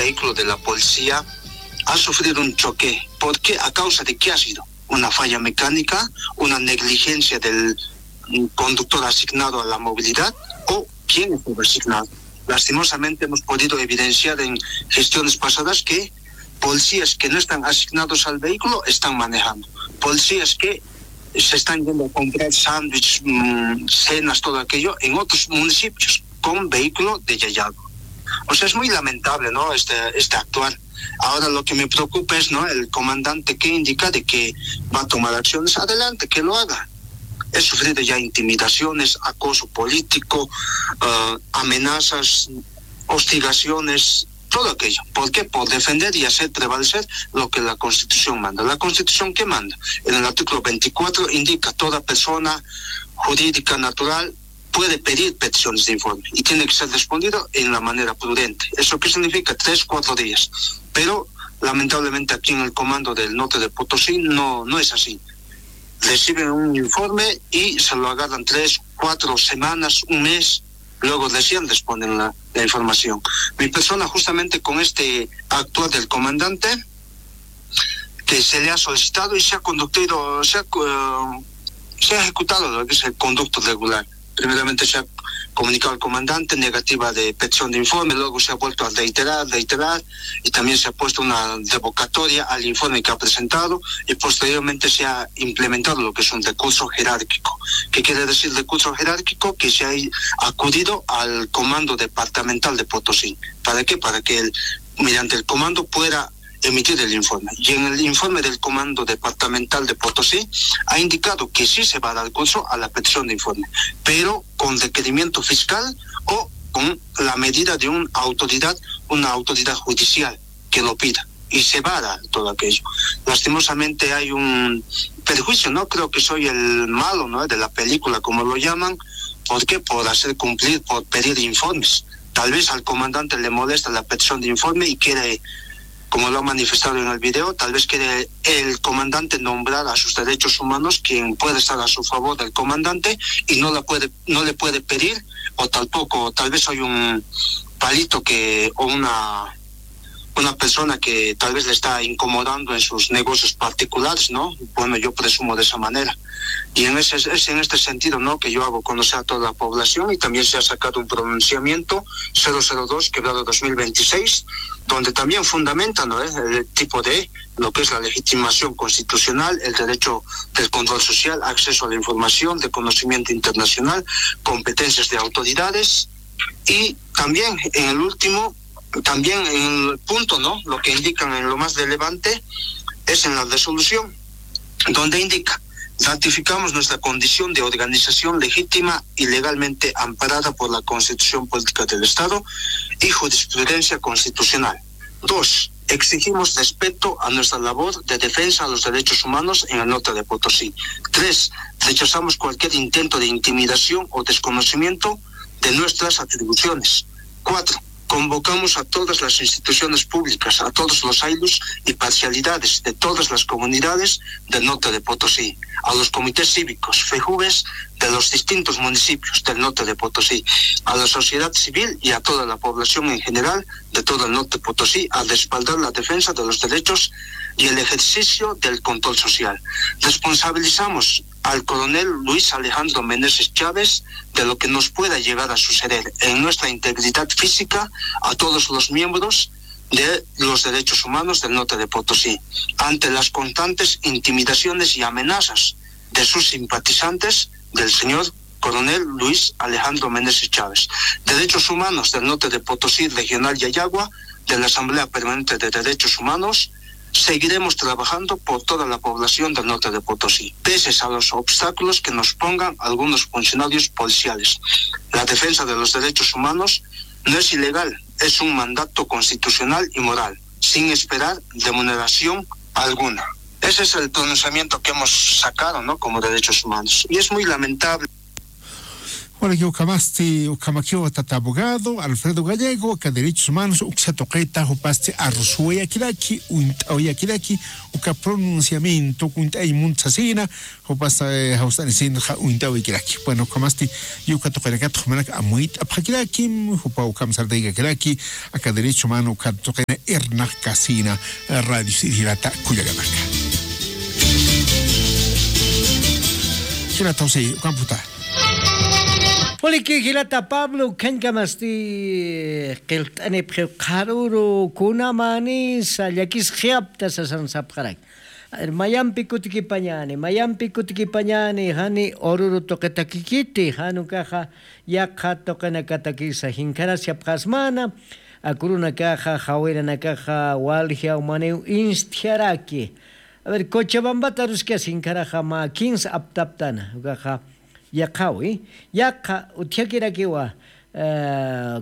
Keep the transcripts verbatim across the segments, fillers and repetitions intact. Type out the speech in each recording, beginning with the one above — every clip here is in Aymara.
vehículo de la policía ha sufrido un choque. ¿Por qué? ¿A causa de qué ha sido? ¿Una falla mecánica, una negligencia del, mm, conductor asignado a la movilidad o quién es el asignado? Lastimosamente hemos podido evidenciar en gestiones pasadas que policías que no están asignados al vehículo están manejando. Policías que se están yendo a comprar sándwiches, mm, cenas, todo aquello, en otros municipios con vehículo de Yayagua. O sea, es muy lamentable, ¿no? Este, este actuar. Ahora lo que me preocupa es, ¿no? El comandante que indica de que va a tomar acciones. Adelante, que lo haga. He sufrido ya intimidaciones, acoso político, ah, amenazas, hostigaciones, todo aquello. ¿Por qué? Por defender y hacer prevalecer lo que la Constitución manda. ¿La Constitución qué manda? En el artículo veinticuatro indica: "Toda persona jurídica natural puede pedir peticiones de informe y tiene que ser respondido en la manera prudente". ¿Eso qué significa? Tres, cuatro días. Pero lamentablemente aquí en el comando del norte de Potosí no, no es así. Reciben un informe y se lo agarran tres, cuatro semanas, un mes, luego recién responden la, la información. Mi persona, justamente con este actuar del comandante, que se le ha solicitado y se ha conductido, se ha, eh, se ha ejecutado lo que es el conducto regular. Primeramente se ha comunicado al comandante negativa de petición de informe, luego se ha vuelto a reiterar, reiterar, y también se ha puesto una revocatoria al informe que ha presentado, y posteriormente se ha implementado lo que es un recurso jerárquico. ¿Qué quiere decir recurso jerárquico? Que se ha acudido al comando departamental de Potosí. ¿Para qué? Para que él, mediante el comando, pueda emitir el informe. Y en el informe del comando departamental de Potosí ha indicado que sí se va a dar curso a la petición de informe, pero con requerimiento fiscal o con la medida de una autoridad, una autoridad judicial que lo pida. Y se va a dar todo aquello. Lastimosamente hay un perjuicio, ¿no? Creo que soy el malo, ¿no? De la película, como lo llaman. ¿Por qué? Por hacer cumplir, por pedir informes. Tal vez al comandante le molesta la petición de informe y quiere, como lo ha manifestado en el video, tal vez quiere el comandante nombrar a sus derechos humanos quien puede estar a su favor del comandante y no la puede, no le puede pedir, o tampoco, tal vez soy un palito que, o una, una persona que tal vez le está incomodando en sus negocios particulares, ¿no? Bueno, yo presumo de esa manera. Y en ese, es en este sentido, ¿no? Que yo hago conocer a toda la población, y también se ha sacado un pronunciamiento, cero cero dos quebrado dos mil veintiséis, donde también fundamenta, ¿no? El tipo de lo que es la legitimación constitucional, el derecho del control social, acceso a la información, de conocimiento internacional, competencias de autoridades. Y también en el último, también en el punto, ¿no? Lo que indican en lo más relevante es en la resolución, donde indica: "Ratificamos nuestra condición de organización legítima y legalmente amparada por la Constitución Política del Estado y jurisprudencia constitucional". Dos, exigimos respeto a nuestra labor de defensa a los derechos humanos en el norte de Potosí. Tres, rechazamos cualquier intento de intimidación o desconocimiento de nuestras atribuciones. Cuatro, convocamos a todas las instituciones públicas, a todos los aylus y parcialidades de todas las comunidades del norte de Potosí, a los comités cívicos, fejubes de los distintos municipios del norte de Potosí, a la sociedad civil y a toda la población en general de todo el norte de Potosí, a respaldar la defensa de los derechos y el ejercicio del control social. Responsabilizamos al coronel Luis Alejandro Meneses Chávez de lo que nos pueda llegar a suceder en nuestra integridad física, a todos los miembros de los derechos humanos del norte de Potosí, ante las constantes intimidaciones y amenazas de sus simpatizantes, del señor coronel Luis Alejandro Meneses Chávez. Derechos humanos del norte de Potosí, regional Yayagua, de la Asamblea Permanente de Derechos Humanos, seguiremos trabajando por toda la población del norte de Potosí, pese a los obstáculos que nos pongan algunos funcionarios policiales. La defensa de los derechos humanos no es ilegal, es un mandato constitucional y moral, sin esperar remuneración alguna. Ese es el pronunciamiento que hemos sacado, ¿no? Como derechos humanos. Y es muy lamentable. Para que ukhamasti ukhamakiw tata abogado Alfredo Gallego aka derechos humanos uksa tuqita jupasti arsuwayakiraki uñt'awayakiraki uka pronunciamiento uñt'ay munt sasina. Jupas jawst'anisinxa uñt'awikiraki bueno ukhamasti yuka tuqinakatxa jumanak amuyt'apxakirakim jupa ukham sartaykakiraki aka derecho humano uka tuqina irnaq kasina. Radio sirjirata kullakanaka. Jilata josé ukamputa. Puliki jilata pablo ukhañkamasti qillt'anipxiw qharuru kunamänisa llakisxyapta sasan sapxarak. Mayampi kutikipañäni mayampi kutikipañäni jani ururu tuqitakikiti jan ukaxa yaqha tuqinakatakisa jinkharasipxasmana. Akurunakaxa jawiranakaxa waljia umaniw instjaraki. A ver cochabambata aruskasi inkharaxa mä kinsa aptaptana ukaxa yaqhawi yaqha utjakirakiwa.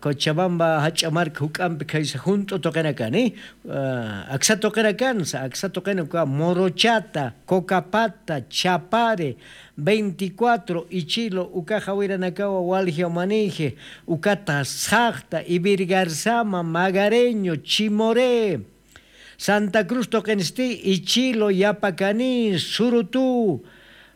Cochabamba jach'a marka juk'ampi khaysa junt'u tuqinakani aksa tuqinakansa aksa tuqina uka morochata cocapata chapare veinticuatro ichilo uka jawiranakawa waljia umaniji ukata saqta ivirgarsama magareño chimore. Santa cruz tuqinsti ichilo yapakani surutu.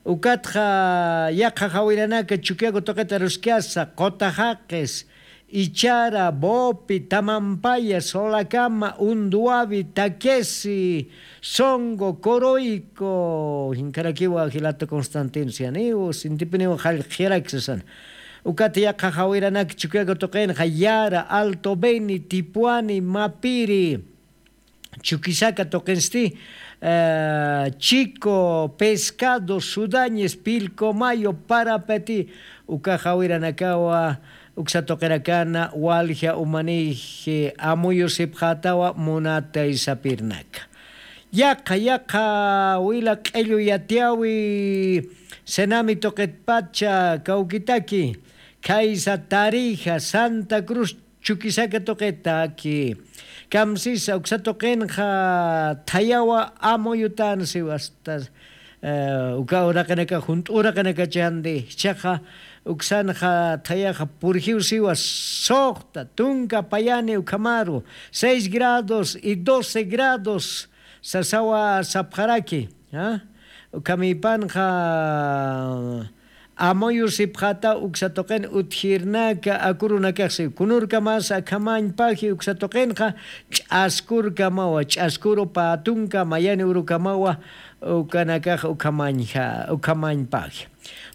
Ukatxa yaqha jawiranaka chukiaku tuqita ruskiasa qota jaqis ichara bopi tamampaya solakama unduavi takesi songo koroyko. Jinkarakiwa jilata constantino sianiw sintipiniw jallq'jiraki sasana. Ukat yaqha jawiranak chukiaku tuqinxa yara alto beni tipuani mapiri chukisaka tuqinsti chico pescado sudañes pilcomayo parapeti. Uka jawiranakawa uksa tuqirakana walja umanij amuyusipxatawa munatay sapirnaka. Yaqha yaqha wila q'illu yatiyawi senami tuqitpacha kawkitaki khaysa tarija santa cruz chukisaka tuqitaki. Kamsisa uksa tuqinxa thayawa amuyutan siwasta uka uraqinaka junt'u uraqinakachandi jichhaxa uksanxa thayaxa purjiw siwa suxta tunka payani ukhamaru seis grados y doce grados sasawa sapxaraki. Ukhamïpanxa amuyusipxata uksa tuqin utjirnaka akurunakaxsiw kunurkamas akhamañpaji uksa tuqinxa ch'askurkamawa ch'askuru pä tunka mayani urukamawa ukanakax ukhamañpaji.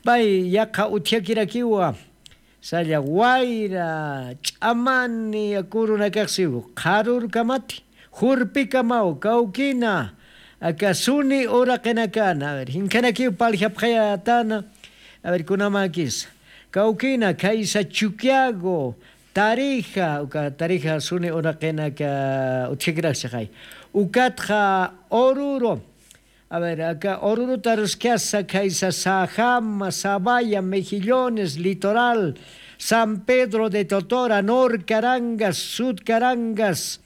Pay yaqha utjakirakiwa salla wayra ch'amani akurunakaxsiw qharurkamati jurpikamaw kawkina aka suni uraqinakana a ver jinkhanakiw parljapxayätana. A ver kunamäkisa kawkina khaysa chukiago tarija uka tarija suni uraqinaka utjakiraksixay ukatxa ururu a ver aka ururuta ruskasa khaysa sajama sabaya mejillones litoral san pedro de totora norcarangas sudcarangas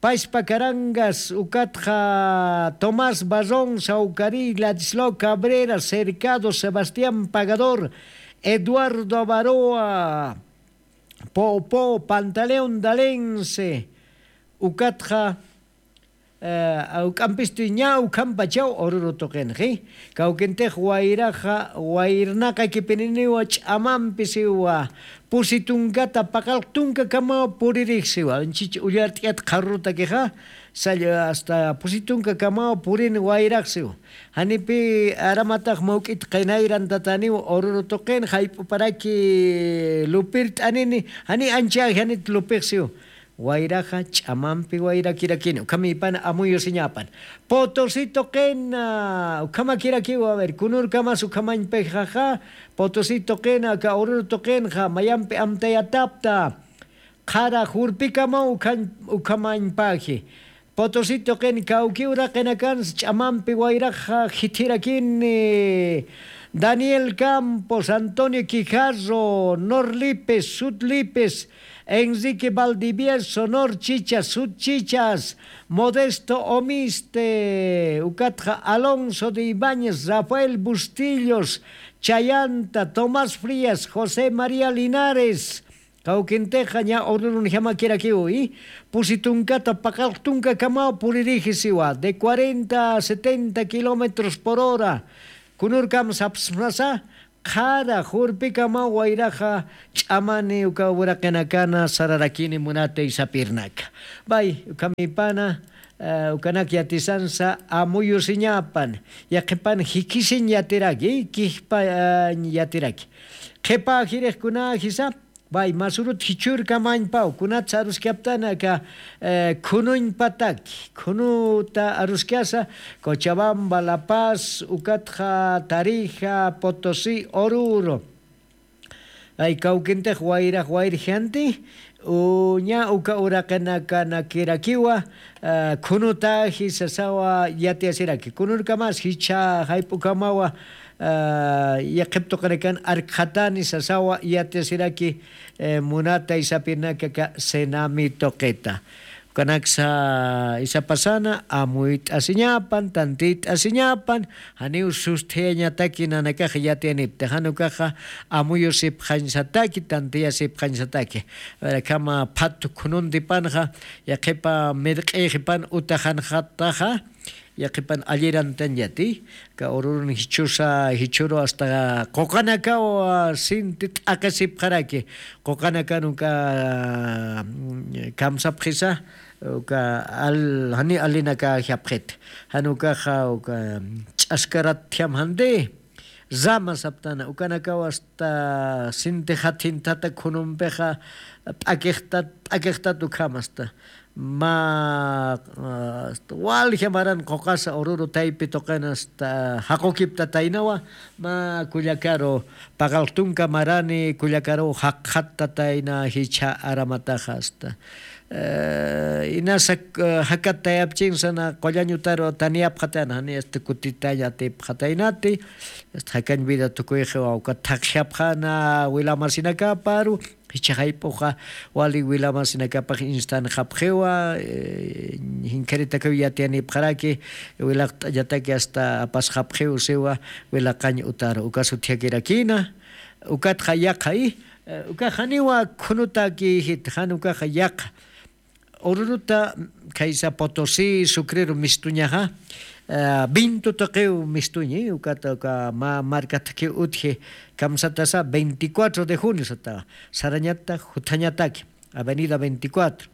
paispa carangas ukatxa tomás barrón saucari ladislao cabrera cercado sebastián pagador eduardo avaroa popo pantaleón dalense ukatxa uk'ampisti ña ukhampachaw ururu tuqinxi kawkintix wayraxa wayrnaqakipininiwa ch'amampi siwa pusi tunkata paqalq tunkakamaw puririx siwa anchich ullart'iyat qharrutakixa salla asta pusi tunkakamaw purini wayrax siwa. Janipi aramatax mawk'it qinayrantataniw ururu tuqin jayp'uparaki lupirt'anini jani anchäji janit lupix siwa. Wayraxa ch'amampi wayrakirakini ukhamïpana amuyusiñäpan. Potosito qina ukhamakirakiwa a ver kunurkamas ukhamañpixaxa potosito qina aka ururu tuqinxa mayampi amtayatapta qhara jurpikamaw ukhamañpaji. Potosito qin kawki uraqinakansa ch'amampi wayraxa jithirakini. Daniel Campos, Antonio Quijarro, Nor Lipes, Sut Lipes, Enrique Valdivieso, Nor Chichas, Sut Chichas, Modesto Omiste, ukatxa Alonso de Ibáñez, Rafael Bustillos, Chayanta, Tomás Frías, José María Linares, kawkintixa ña ururunjamakirakiwi. Pusi tunkata paqallq tunkakamaw puririji siwa de cuarenta a setenta kilómetros por hora. Kunurkam sapsmasa qhara jurpikamaw wayraxa ch'amani uka uraqinakana sararakini munatay sapirnaka. Bay ukhamipana ukanak yatisansa amuyusiñapan, yaqhipan jikisiñ yatiraki kijpañ yatiraki. Qhipa jirixkunajisa bay masurut jichhurkamañpaw kunatsa aruskaptana aka khunuñpataki khunuta aruskasa, cochabamba, la paz, ukatxa tarija, potosí, oruro. Ay kawkintix wayrax wayrjanti uña uka uraqinakanakirakiwa khunutaji sasawa yatiyasiraki kunurkamas jichha jayp'ukamawa yaqhip tuqinakan arkxatani sasawa yatiyasiraki. Munatay sapirnaka aka cenami tuqita ukanaksa isapasana amuyt'asiñapan tantiyt'asiñapan. Janiw susthiyañataki nanakax yatiyanipti jan ukaxa amuyusipxañsataki tantiyasipxañsataki. Akhama phat khununtipanxa yaqhipa mirq'iyxipan utaxanxataxa yaqhipan allirantañati. Aka ururun jichhusa jichhuru asta quqanakaw sinti t'aqisipxaraki. Quqanakan uka kamsapxisa uka jani allinakajapxit jan ukaxa uka ch'askarat thiamjanti. Rama saptana ukanakaw asta sinti jathinthata khunumpixa p'akixtat p'akixtat ukham asta mä walja maran quqasa ururu taypi tuqin asta jaqukiptataynawa mä kullakaru paqalq tunka marani kullakaruw jaqxattatayna jichha aramataxa asta. Inasa jakat tayapchinsana qullañ utaru taniyapxatayna jani asta kutitañ atipxataynati. Asta jakañ vida tukuyxiwa ukat thaqjapxana wilamasinakaparu jichha jayp'uxa wali wilamasinakapax instanxapxiwa. Jinkharitakaw yatiyanipxaraki wilaqt'añataki asta apasxapxiw siwa wilaqañ utaru uka suthiyakirakina. Ukatxa yaqha i ukax janiwa khunutaki jit jan ukaxa yaqha ururuta khaysa potosí sucrero mistuñaxa vinto tuqiw mistuñi ukata uka mä markathakiw utji. Kamsatasa veinticuatro de junio sata sarañata juthañataki avenida veinticuatro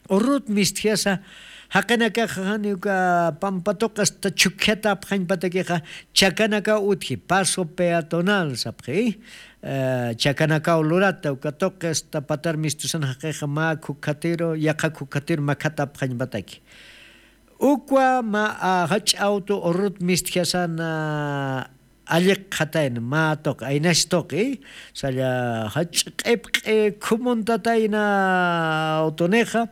ururut mistjasa jaqinakaxa jani uka pampa tuqi asta chhukjatapxañpatakixa chakanakaw utji paso peatonal sapxi. Chakanakaw lurata uka tuqi asta patar mistusan jaqixa mä khukhatiru yaqha khukhatiru makhatapxañpataki. Ukwa mä jach'a awtu ururut mistjasana alliqxatayna mä tuqi aynax tuqi salla jach'a q'ipq'i khumuntatayna awtunixa.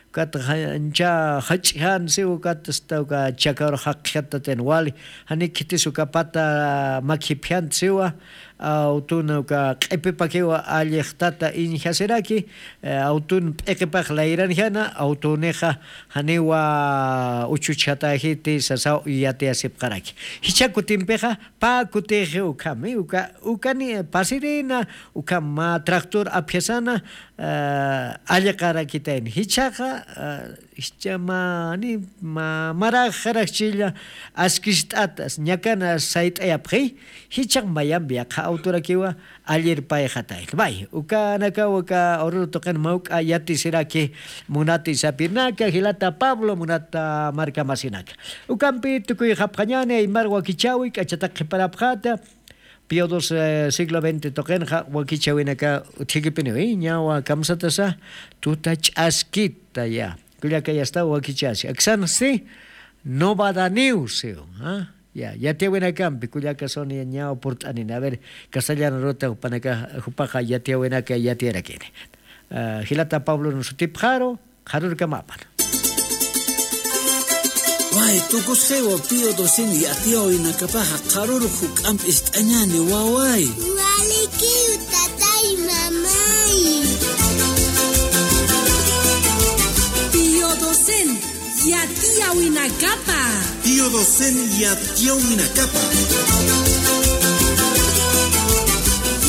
Ukat ancha jach'jan siw ukat asta uka chakaru jaqjattatayna wali jani khitis uka pata makhipjant siwa awtun uka q'ipipakiwa allixtata iñjasiraki. Awtun p'iqipax layranjana awtunixa janiwa uchuchjatäjiti sasaw yatiyasipxaraki. Jichha kutimpixa pä kutixi ukhami uka ukani pasirina ukham mä tractor apjasana alliqarakitayna jichhaxa jichha mä ni mä maraxaraxchilla askist'ata ñakana sayt'ayapxi. Jichhax mayampi yaqha awtorakiwa allirpayxatayna bay ukanakaw uka ururu tuqin mawk'a yatisiraki. Munati sapirnaka jilata pablo munata markamasinaka ukampi tukuyxapxañani aymar wakichäwi k'achatak qhiparapxata. Pío dos siglo veinte tuqinxa wakichäwinaka utjikipiniwi ñawa kamsatasa tuta ch'askita ya kullaka yastaw wakichäsi aksansi. Novedadniw siw ya yatiyäwinakampi kullaka suni ñawa purt'anini a ver castellana ruta jupanaka jupaxa yatiyäwinaka yatiyarakini. Jilata pablon sutipxaru qharurkamapan. Waway, tukusxiwa Pío doce yatiyäwinakapaxa qharürux juk'amp ist'añäni, waway. Walikiw, tatay, mamay. Pío doce yatiyäwinakapa. Pío doce yatiyäwinakapa.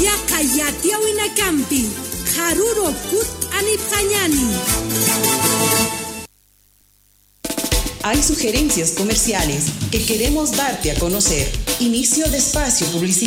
Yaqha yatiyäwinakampi qharürux kutt'anipxañäni. Hay sugerencias comerciales que queremos darte a conocer. Inicio de espacio publicitario.